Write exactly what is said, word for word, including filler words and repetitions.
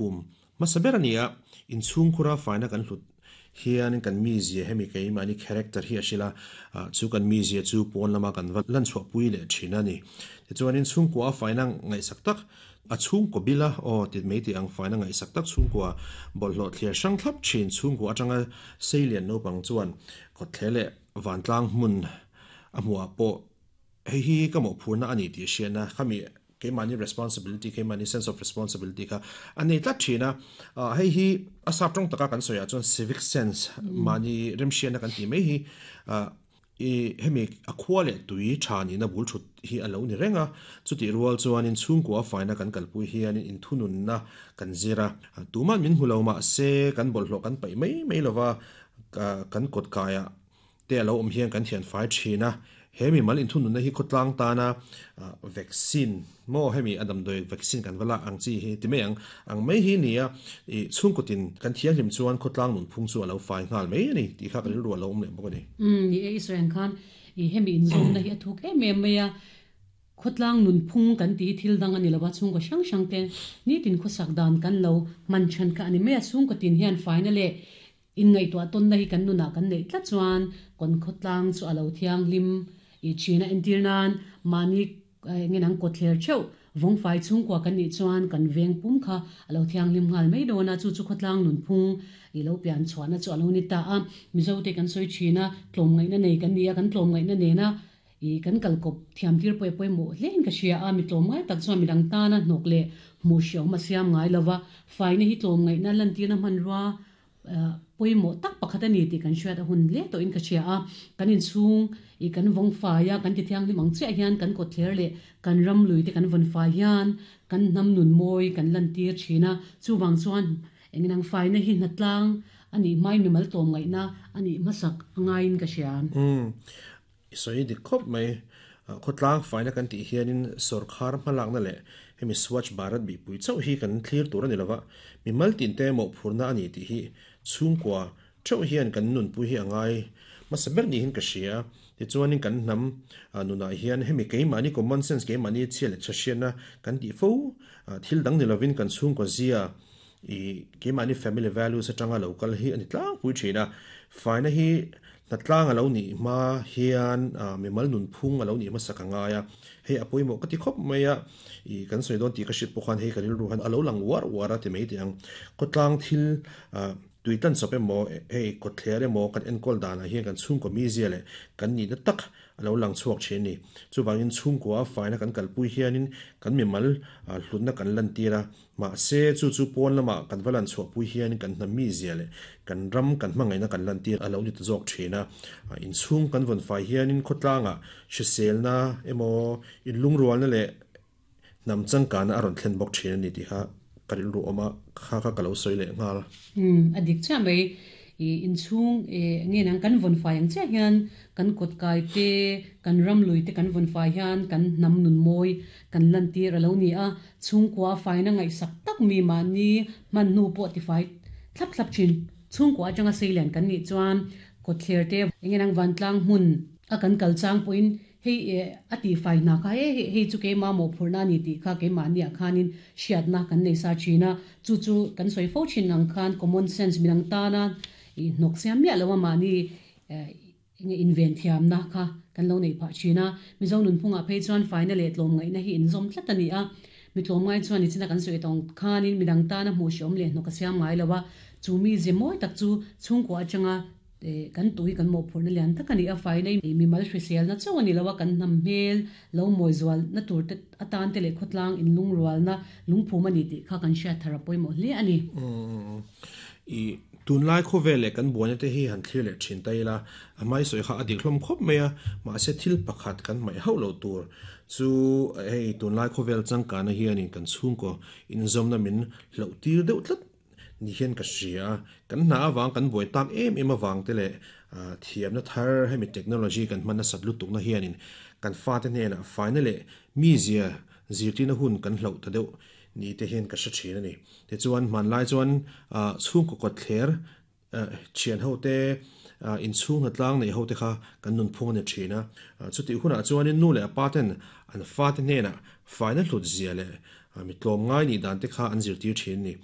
Lungphum hmasa ber a ni a, inchhungkhura faina kan hlut hian kan mizia hemi keimahni character hi a hrilh a, chu kan mizia chu pawn lama kan va lan chhuahpui leh thin a ni. Tichuanin chhungkua a faina ngaihsak tak a chhungkaw bila aw ti mai tih ang faina ngaihsak tak chhungkua bawlhhlawh thliar hrang thlap thin chhungkua atanga seilian naupang chuan kawtthle leh vantlang hmun a hmuhah pawh hei hi ka mawhphurna a ni tih hriatna khami keimahni responsibility keimahni sense of responsibility kha a nei tlat thin a. Hei hi a sap tawng taka kan sawiah chuan civic sense mahni remhriatna kan tih mai hi i hemi a khua leh tui tha nihna bul thut hi a lo ni reng a. Chutih rual chuanin chhungkua faina kan kalpui hianin inthununna kan zir a, tuman min hmu lo mah se kan bawlhhlawh kan paih mai mai lova kan kawt kaiah te a lo awm hian kan thian fai thin a. He mi mal inthununna hi khawtlang tana vaccine maw hemi a damdawi vaccine kan va lak ang chi hi ti mai ang ang mai hi nia i chhungkawtin kan thianghlim chuan khawtlang nunphung chu a lo fai nghal mai a ni tih kha ka rilru a lo awm leh bawk a ni. Umm ni e Israel khan i hemi inzawmna hi a thuk em em mai a, khawtlang nunphung kan tih hi thil dang a ni lo a, chhungkaw hrang hrang te nitin khawsak dan kan lo hman than kha a ni mai a, chhungkawtin hian faina leh Inngaihtuah tawnna hi kan nunah kan neih tlat chuan kawn khawtlang chu a lo thianghlim i thin a entir nan mahni nge nang kawtthler theuh vawngfai chhungkua kan nih chuan kan veng pum kha a lo thianghlim nghal mai dawn a, chu chu khawtlang nunphung i lo pian chhuahna chu a lo ni ta a. Mizote kan sawi thin a, tlawmngaihna nei kan ni a, kan tlawmngaihna nena i kan kalkawp thiam tir pawh pawimawh hlein ka hria a, mi tlawmngai tak chuan midang tana hnawk leh hmuh hriawm a siam ngai lova, faina hi tlawmngaihna lantirna hmanrua pawimawh tak pakhat a ni tih kan hriat a hun hle tawhin ka hria a, kan inchhung i kan vawng fai a, kan ti thianghlim ang chiah hian kan kawtthler leh kan ram lui te kan vawn fai hian kan hnam nun mawi kan lantir thin a, chuvang chuan engin ang faina hi hnatlang a nih hmain mimal tlawm ngaihna a nih hmasak a ngaiin ka hria. Umm, i sawi dik khawp mai. Khawtlang faina kan tih hianin sawrkhar hmalakna leh hemi Swachh Bharat bihpui chauh hi kan thlir tur a ni lova, mimal tinte mawhphurna a ni tih hi chhungkua theuh hian kan nunpui hi a ngai hmasa ber niin ka hria. Tichuanin kan hnam nunah hian hemi keimahni common sense, keimahni chhia leh tha hriatna kan tih fo thil dang ni lovin kan chhungkua zia i keimahni family values atanga lo kal hi a ni tlangpui thin a. Faina hi Hnatlang a lo nih hma hian mimal nunphung a lo nih hmasa ka ngai a, hei a pawimawh ka ti khawp mai a, ih kan sawi dawn tih ka hriat pawh khan hei ka rilru han a lo lang uar uar a ti mai teh ang. Khawtlang thil tui tan chawp emaw hei kawtthler emaw kan enkawl danah hian kan chhungkaw mizia leh kan nihna tak a lo lang chhuak thin a ni. Chuvangin chhungkua faina kan kalpui hianin kan mimal hlutna kan lantir a, mahse chu chu pawn lamah kan va lan chhuahpui hianin kan hna mizia leh kan ram kan hmangaihna kan lantir a lo ni ta zawk thin a. Inchhung kan vawn fai hianin khawtlangah hriselna emaw inlungrualna leh hnam changkana a rawn thlen bawk thin a ni tih kha ka rilru awm a, kha kha ka lo sawi leh nghal. Umm, a dik chiah mai. I inchhung nge nang kan vawn fai ang chiah hian kan kawt kai te, kan ram lui te kan vawn fai hian kan hnam nun mawi kan lantir a lo ni a. Chhungkua faina ngaihsak tak mi mahni hman hnu pawh tifai thlap thlap thin. Chhungkua atanga seilian kan nih chuan kawtthler te enge nang vantlang hmun a kan kal chang pawhin hei a tihfai hna kha he hei chu keimah mawhphurhna a ni tih kha keimahniah khanin hriatna kan nei sa thin a, chu chu kan sawi fo thin ang khan common sense midang tana i hnawk siam miah lo a mahni enge inven thiamna kha kan lo neih phah thin a. Mizo nunphungah phei chuan faina leh tlawmngaihna hi inzawm tlat a ni a, mi tlawmngai chuan nichina kan sawi tawng khanin midang tana hmuh hreawm leh hnawk a siam ngai lo a, chu mi ze mawi tak chu chhungkua atanga Kan tui kan mawhphurhna lian tak a ni a, faina i mimal hriselna chauh a ni lo a, kan hnam hmel lo mawi zualna tur te atan te leh khawtlang inlungrualna lungphum a ni tih kha kan hriat thar a pawimawh hle a ni. I tunlai khawvel leh kan buaina te hi han thlir leh thin ta ila, a hmai sawi kha a dik hlawm khawp mai a, mahse thil pakhat kan hmaih hauh loh tur chu hei tunlai khawvel changkana hianin kan chhungkaw inzawmna min hloh tir deuh tlat Ni hian ka hria a, kan hna avang kan buai tak em em avang te leh thiamna thar hemi technology kan hman nasat lutukna hianin kan fate hnenah faina leh mizia zirtirna hun kan hloh ta deuh ni te hian ka hre thin a ni. Tichuan hmanlai chuan chhungkaw kawtthler thian ho te inchhung hnatlang neih ho te kha kan nunphung a ni thin a. Chutih hunah chuanin nu leh a pa ten an fate hnenah faina hlut zia leh mi tlawmngai nih dan te kha an zirtir thin a ni.